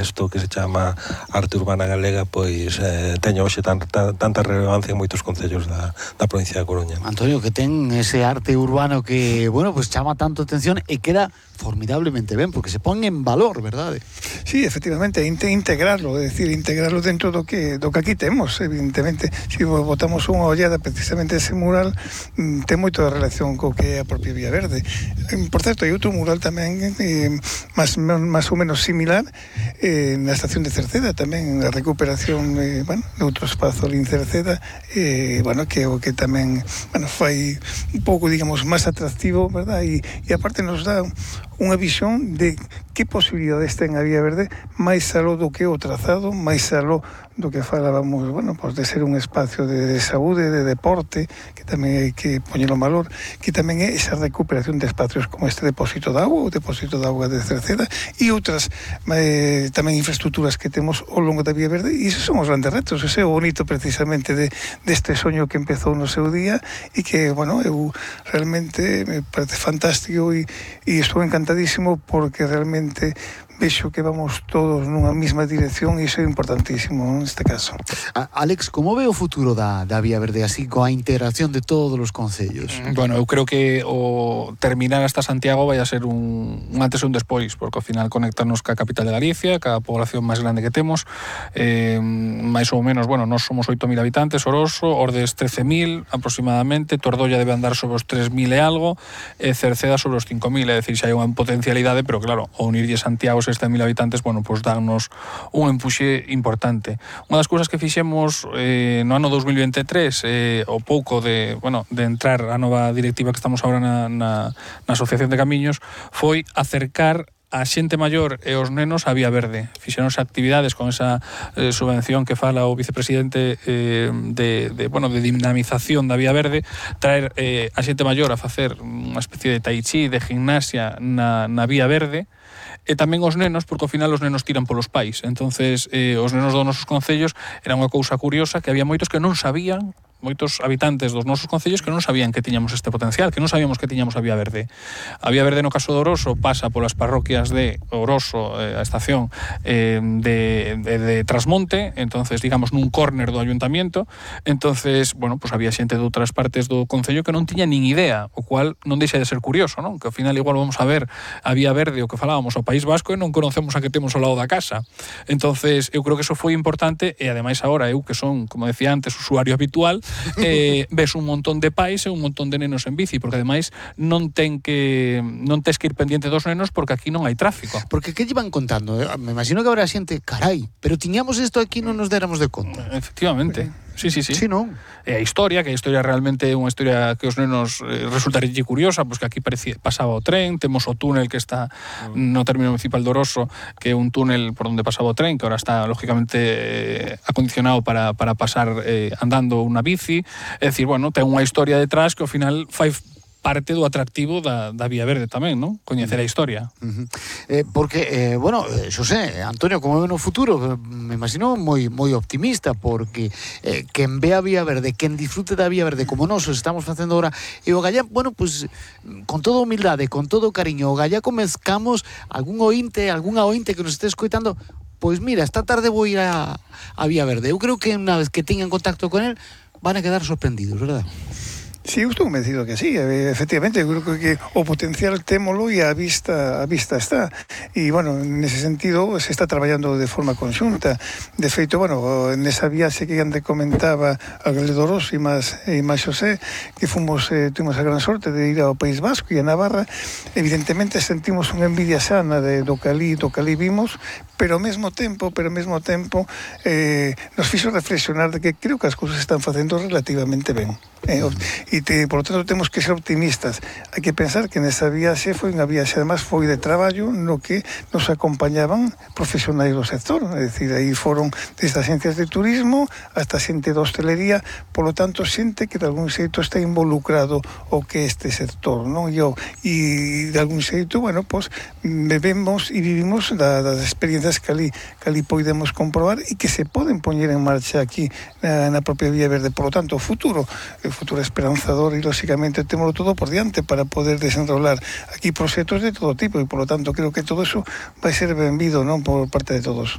isto que se chama arte urbana galega, pois teña hoxe tanta relevancia en moitos concellos da provincia da Coruña. Antonio, que ten ese arte urbano que, bueno, pues chama tanto atención e queda formidablemente ben, porque se pon en valor, verdade? Sí, efectivamente, integrarlo, é dicir, integrarlo dentro do que aquí temos, evidentemente. Se botamos unha ollada precisamente ese mural, ten moito de relación co que é a propia Vía Verde. Por certo, hai outro mural tamén máis ou menos similar na estación de Cerceda, tamén a recuperación de outro espazo ali en Cerceda, que o que tamén fai un pouco, digamos, máis atractivo, verdad? E aparte nos dá unha visión de que posibilidades ten a Vía Verde máis aló do que o trazado, máis aló do que falábamos, pues de ser un espacio de saúde, de deporte, que tamén hai que poñelo en valor, que tamén é esa recuperación de espacios como este depósito de agua, o depósito de agua de Cerceda, e outras tamén infraestructuras que temos ao longo da Vía Verde, e esos son os grandes retos, ese é o bonito precisamente deste soño que empezou no seu día, e que, eu realmente me parece fantástico e estou encantadísimo porque realmente vexo que vamos todos nunha mesma dirección e iso é importantísimo neste caso. Alex, como ve o futuro da Vía Verde así coa integración de todos os concellos? Bueno, eu creo que o terminar hasta Santiago vai a ser un antes e un despois, porque ao final conectarnos ca capital de Galicia, ca población máis grande que temos, máis ou menos, nós somos 8.000 habitantes, Oroso, Ordes 13.000 aproximadamente, Tordolla debe andar sobre os 3.000 e algo, Cerceda sobre os 5.000, é dicir, xa hai unha potencialidade, pero claro, ao unirlle Santiago 6.000 habitantes, pues dannos un empuxe importante. Unha das cousas que fixemos no ano 2023, o pouco de entrar a nova directiva que estamos agora na Asociación de Camiños, foi acercar a xente maior e os nenos a Vía Verde. Fixeronse actividades con esa subvención que fala o vicepresidente de dinamización da Vía Verde, traer a xente maior a facer unha especie de tai chi, de gimnasia na Vía Verde, e tamén os nenos, porque ao final os nenos tiran polos pais. Entonces, os nenos dos nosos concellos era unha cousa curiosa, que había moitos que non sabían, moitos habitantes dos nosos concellos que non sabían que tiñamos este potencial, que non sabíamos que tiñamos a Vía Verde. A Vía Verde no caso de Oroso pasa polas parroquias de Oroso, a estación de Trasmonte, entonces digamos nun córner do ayuntamiento, entonces, pues había xente de outras partes do concello que non tiña nin idea, o cual non deixa de ser curioso, non? Que ao final igual vamos a ver a Vía Verde, o que falábamos, ao País Vasco, e non conocemos a que temos ao lado da casa. Entonces, eu creo que eso foi importante, e ademais agora eu que son, como decía antes, usuario habitual, ves un montón de pais e un montón de nenos en bici, porque ademais non tes que ir pendiente dos nenos porque aquí non hai tráfico. Porque que llevan contando? Me imagino que habrá xente, carai, pero tiñamos isto aquí non nos déramos de conta. Efectivamente. Sí. Sí, non? E a historia realmente é unha historia que os nenos resultaría curiosa, pois que aquí pasaba o tren, temos o túnel que está no término municipal de Oroso, que é un túnel por onde pasaba o tren, que ahora está lógicamente acondicionado para pasar andando unha bici, é dicir, ten unha historia detrás que ao final fai parte do atractivo da Vía Verde tamén, non? Coñecer a historia. Porque, Xosé, Antonio, como ve no futuro, me imagino moi optimista, porque quen ve a Vía Verde, quen disfrute da Vía Verde, como nós estamos facendo agora, e o Gallá, con toda humildade, con todo cariño, o Gallá comezcamos algunha ointe que nos este escoitando, pois mira, esta tarde vou ir a Vía Verde. Eu creo que unha vez que teñan contacto con él, van a quedar sorprendidos, verdad? Sí, eu estou convencido que sí, efectivamente, eu creo que o potencial témolo e a vista está. E, nese sentido, se está traballando de forma conxunta. De feito, nesa viaxe que Ande comentaba a Galedoros e máis Xosé, que tuvimos a gran sorte de ir ao País Vasco e a Navarra, evidentemente sentimos unha envidia sana do que ali vimos, pero ao mesmo tempo nos fixo reflexionar de que creo que as cousas están facendo relativamente ben. Por lo tanto temos que ser optimistas. Hai que pensar que nesa viaxe foi unha viaxe, además foi de traballo no que nos acompañaban profesionais do sector, é dicir, aí foron desde agencias de turismo hasta xente de hostelería, por lo tanto xente que de algún xeito está involucrado o que este sector, non? E de algún xeito, bebemos e vivimos das experiencias que ali podemos comprobar e que se poden poñer en marcha aquí na propia Vía Verde. Por lo tanto, o futuro o futuro é esperanzador e, lóxicamente, temos todo por diante para poder desenrolar aquí proxectos de todo tipo e, polo tanto, creo que todo eso vai ser benvido, non, por parte de todos.